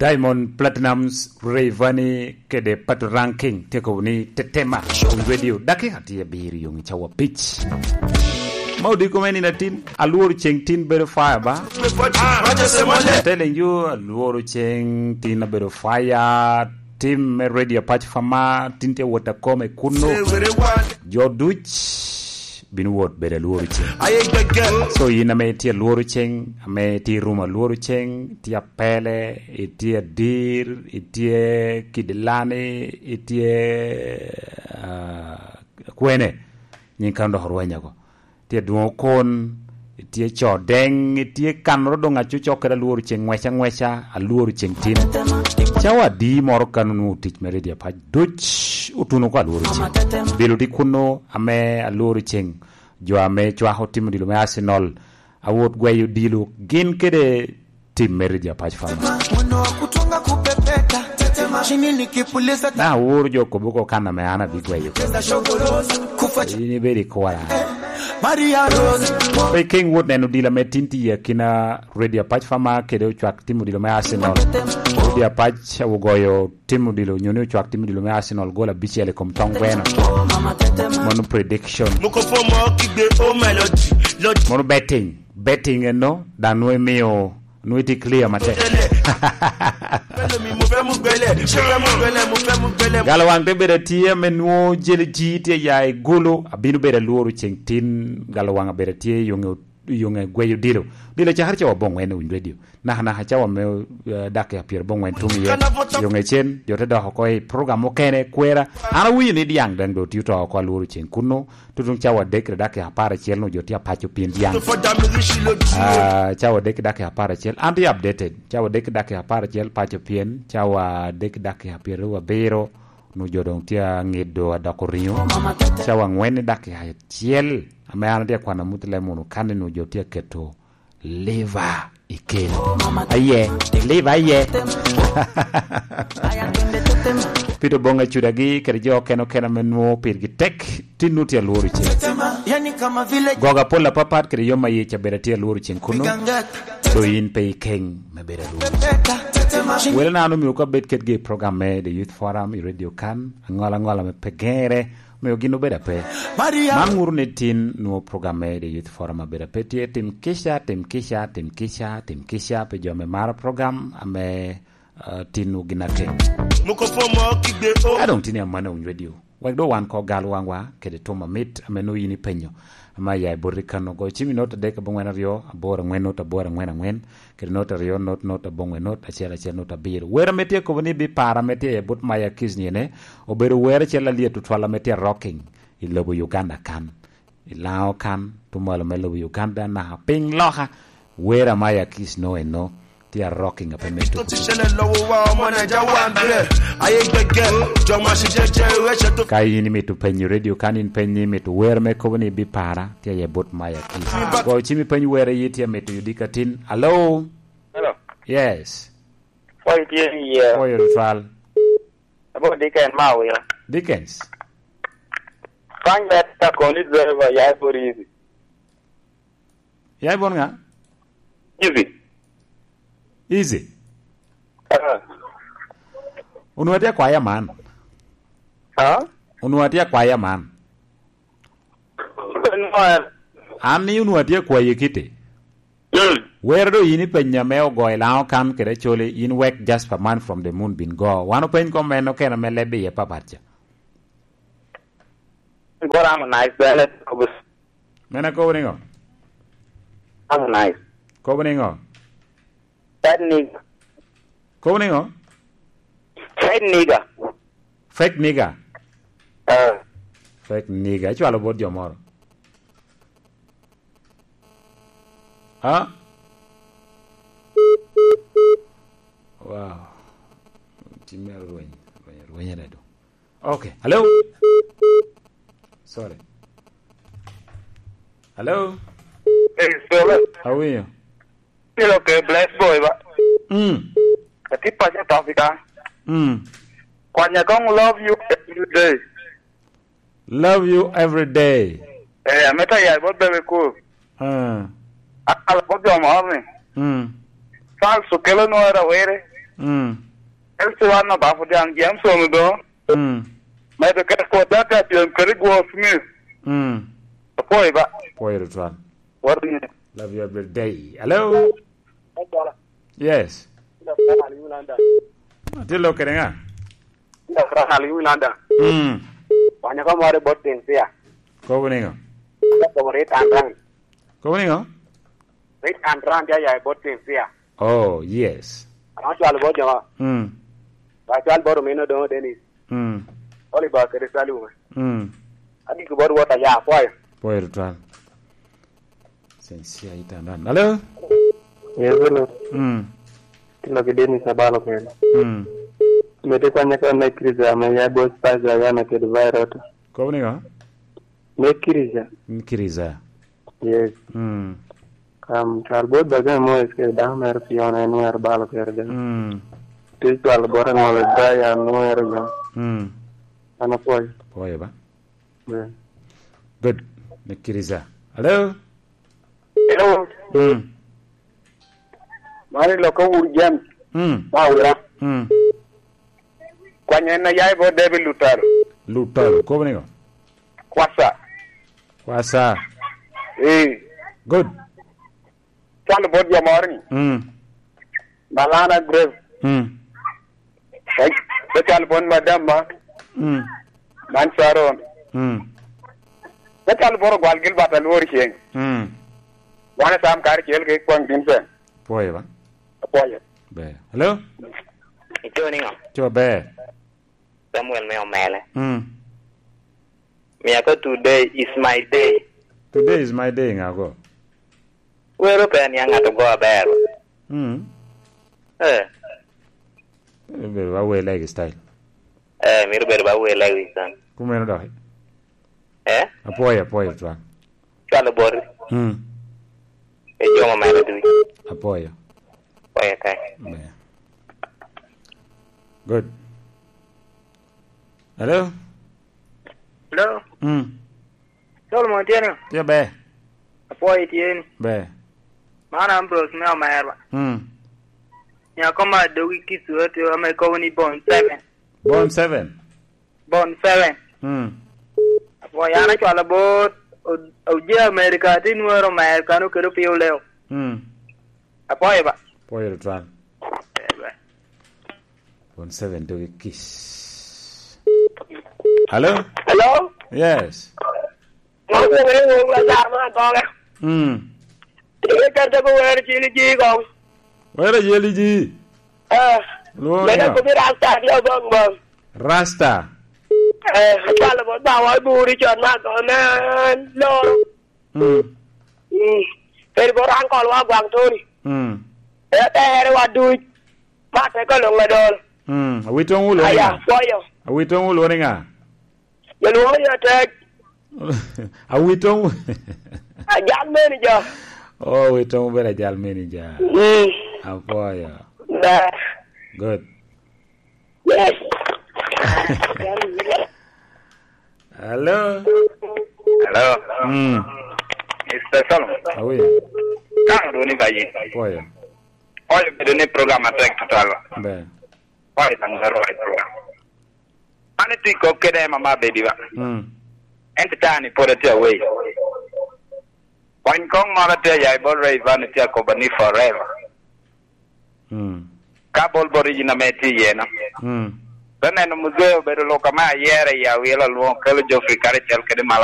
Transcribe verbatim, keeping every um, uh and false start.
Diamond Platinums, Rayvanny kede Pato Ranking tye kobo ni tetema. Radio dakika tye abiro yoŋ i cawa pic. Ma odiko me nino atin, alworo ceŋ tin bedo fire ba. Telling you, alworo ceŋ tin abedo fire. Tim me Radio Apac Fama tin tye wot akome kuno. Jo duc bino wot bedo alworo ceŋ. So yin ame itye alworo ceŋ, ame itye i rum alworo ceŋ, itye apele, itye adir, itye kidilani, itye, ah, kwene, nyin kan dok orweny oko. Tye adwoŋ okon, itye co deŋ, itye kanoro doŋ acucok kede alworo ceŋ ŋweca ŋweca, alworo ceŋ tin. Cawa adi moro kan onwoŋo tic me Radio Apac, duc otuno oko alworo ceŋ. Bilo tye kuno ame alworo ceŋ. Jo ame cwako tim odilo me Arsenal, awot gweyo odilo, gin kede tim me Radio Apac Fama. Na aworo jo kobo ko kan ame an abigweyo. In ibedo i kora. Pe ikeŋ wot neno odilo ame tin tye i akina Radio Apac Fama kede ocwak tim odilo me Arsenal. Radio Apac ogoyo tim odilo, nyo ni ocwak tim odilo me Arsenal gol abicel i kom tong gweno. Mono prediction. Mono betting. Betting eno, dan nwe mio, nwe ti clear matek. Galo wang te bedo tye me nwo jeli ji tye ya i gulu, abino bedo alworo ceŋ tin, galo wang abedo tye yonge, yonge gweyo dilo. Dilo cakere cawa bongwen i radio. Naka naka cawa me, eh, dakika pyero abongwen tum iye. Yonge cen, jo te dok oko i program okene, kwera. An awinyo ni diaŋ daŋ do tye oto oko alworo ceŋ kuno. Tutuŋ cawa adek kede dakika apar acel no jo tye apaco pien diaŋ. Ah, cawa adek kede dakika apar acel. An tye updated. Cawa adek kede dakika apar acel paco pien. Cawa adek kede dakika pyero abiro. Nu jo doŋ tye aŋedo adoko riŋo. Cawa angwen i dakika acel. Ame an atye akwano amut lem wunu kan ni nu jo tye aketo liver i keno. Aye, liver aye. Pito boŋ acudagi kede jo okene okene ame nwoŋo pirgi tek, tin nu tye alworo ceŋ. Goga pol apapat kede yom aye cabeda tye alworo ceŋ kuno. Do in pe ikeŋ me bedo alworo. Wele na an omio ka bed kedgi i program me The Youth Forum i radio kan, aŋola aŋola me pe gere, omio gin obedo ape. Man ŋuru ni tin nwo program me The Youth Forum abedo ape tye tim kica, tim kica, tim kica, tim kica, pe jo me maro program ame, ah, tin nwo gin akeŋ. Ka doŋ tin i Amana Winy Radio. Wek do wan ko gal waŋwa kede tum amit ame nwo yin ipenyo. Ame aya i boti kan ogo cim i not adek abongwen aryo, aboro angwen not aboro angwen angwen, kede not aryo not not abongwen not acel acel not abiro. Wer ame tye kobo ni bi para ame tye i but Maya Kiss nyene, obedo wer acel alyet tutwal ame tye rocking i lobo Uganda kan. I Laŋo kan, tumalo me lobo Uganda, naka piny loka, wer Amaya Kiss no eno, tye a rocking ape me tuko. Ka in imito penyo radio kan, in penyo ni imito wer me kobo ni bi para, tye aye but Maya Kiss. Go cim ipeny wer aye tye amito yudi katin. Hello? Hello. Yes. Koi tye iye. Koi tutwal. Abo Dickens ma awira. Dickens. Find that car koni driver ya for easy. Ya ibon ŋa? Easy. Easy. Ah. Onwoŋo atye akwaya man. Ah? Onwoŋo atye akwaya man. An ni onwoŋo atye akwayi kite. Mm. Wer do yin ipenya me ogoyo Laŋo kan kede Acholi, yin wek Jasper Man from the Moon bin go. Wan openy kom en okene me leb iye papat ca. Go Harmonize, bene kobo. Mene kobo niŋo? Harmonize. Kobo niŋo? That nigga. Kobo niŋo? Fake nigga. Fake nigga? Ah. Fake nigga. Icwalo bot jo moro. Ha? Wow. Tim me rweny, rweny, rweny redo. Okay. Hello? Sorry. Hello? Hey, Solo. How are you? Still okay, bless boy, ba. Mm. Ati pacha tafika. Mm. Kwanya kong love you every day. Love you every day. Eh, ameta ya bo bebe ku. Ah. Ala bo jo mo ni. Mm. Falso kelo no era were. Mm. Elsi wan obapo daŋ James Ono do. Mm. Medo kede kota ka pyem kede Gwor Smith. Mm. Apwoyo ba. Pwoyo tutwal. What do you Love you every day. Hello? Yes. Atye lok kede ŋa? Dak Rahal i Ulanda. Mm. Wanya ka moro i bot Cynthia. Kobo niŋo? Dak kobo ri tan ran. Kobo niŋo? Ri tan ran ya ya i bot Cynthia. Oh, yes. Ano cwal bot joma. Mm. Ba cwal bot omino doŋo Dennis. Mm. Oliver kede Salume. Mm. Agik bot wot aya, apwoyo. Pwoyo tutwal. Cynthia i tan ran. Hello? Yes, hello. Mm. Tilo ki Dennis Abalo kene. Mm. Mete kwanya ka me Kristo ame ya bot Spice Ayana kede Virota. Kobo niŋo? Me Kristo. Mm, Kristo. Yes. Mm. Kam, kar bot Bakame Moyes kede dako mere Fiona en wer balo kede dano. Mm. Te cwalo bot aŋolo Brian wer jo. Mm. An apwoyo. Pwoyo ba? Yeah. Good. Me Kristo. Hello? Hello. Mm. Mani loko wur James. Mm. Ma wura. Mm. Kwanya en aya i bot David Lutalo. Lutalo, kobo niŋo? Kwasa. Kwasa. Eh. Good. Calo bot jo moro ni. Mm. Malana Grace. Mm. Te, te calo bot madam ma. Mm. Man Sharon. Mm. Te calo bot ogwal Gilbert Alwor Ceng. Mm. Wan Sam karacel ki Kwang Vincent. Pwoyo ba? Apwoyo. Ber. Hello? Ico niŋo? Co ber. Samuel me Omele. Mm. Mia ko today is my day. Today is my day, ŋa go? Wero pe aniaŋ ŋat ogo aber. Mm. Eh. Bedo ba wer like style. Eh, miro bedo ba wer like style. Kumeno dok. Eh? Apwoyo, apwoyo, twal. Cwalo boti. Mm. E jo ma mere duc. Apwoyo. Apwoyo kai. Ber. Good. Hello? Hello? Mm. Solomon tye ni? Tye ber. Apwoyo tye ni? Ber. Man Ambrose me Omerwa. Mm. Nyako ma dogi kic wot ame kobo ni Bon Seven. Bon Seven? Bon Seven. Mm. Apwoyo an acwalo bot o-, oje America, ati nwero America no kelo pio leo. Mm. Apwoyo ba. Pwoyo tutwal. Eh, ba. Bon Seven dogi kic. Hello? Hello? Yes. Ŋo kwoŋere ŋo wula car ma agoga? Mm. Ike kete ko wero cili ji kong. Wero cili ji? Eh. Lwongo mene niŋo? Kobi Rasta ki Obong Bong. Rasta. Eh, acwalo bot bawa i buri con ma agoga me loro. Mm. Mm. Kede bot ankol wa Gwaŋ Tony. Mm. Etere wa duc. Ma te ka luŋ adol. Mm. Awitoŋ wulu niŋa? Aya, pwoyo. Awitoŋ wulu niŋa? Yalwoŋo ni atek. Awitoŋ. Ajal manager. Oh, awitoŋ bedo ajal manager. Mm. Apwoyo. Ba. Good. Yes. Hello. Hello. Mm. Mister Solomon. Awi. Kan duni bayi. Apwoyo. Oyo bedo ni program atek tutwal. Be. Oyo tang zero right program. An itye kop kede Emma ma bedi ba. Mm. Ento tani pwod atye awei. Wany kong moro atye aya i bot Ray Van itye akobo ni forever. Mm. Ka bol bot yin ame itye iye no. Mm. Te neno muzee obedo lok ame ayero i awilo alwoŋo kelo Geoffrey karacel kede Malak.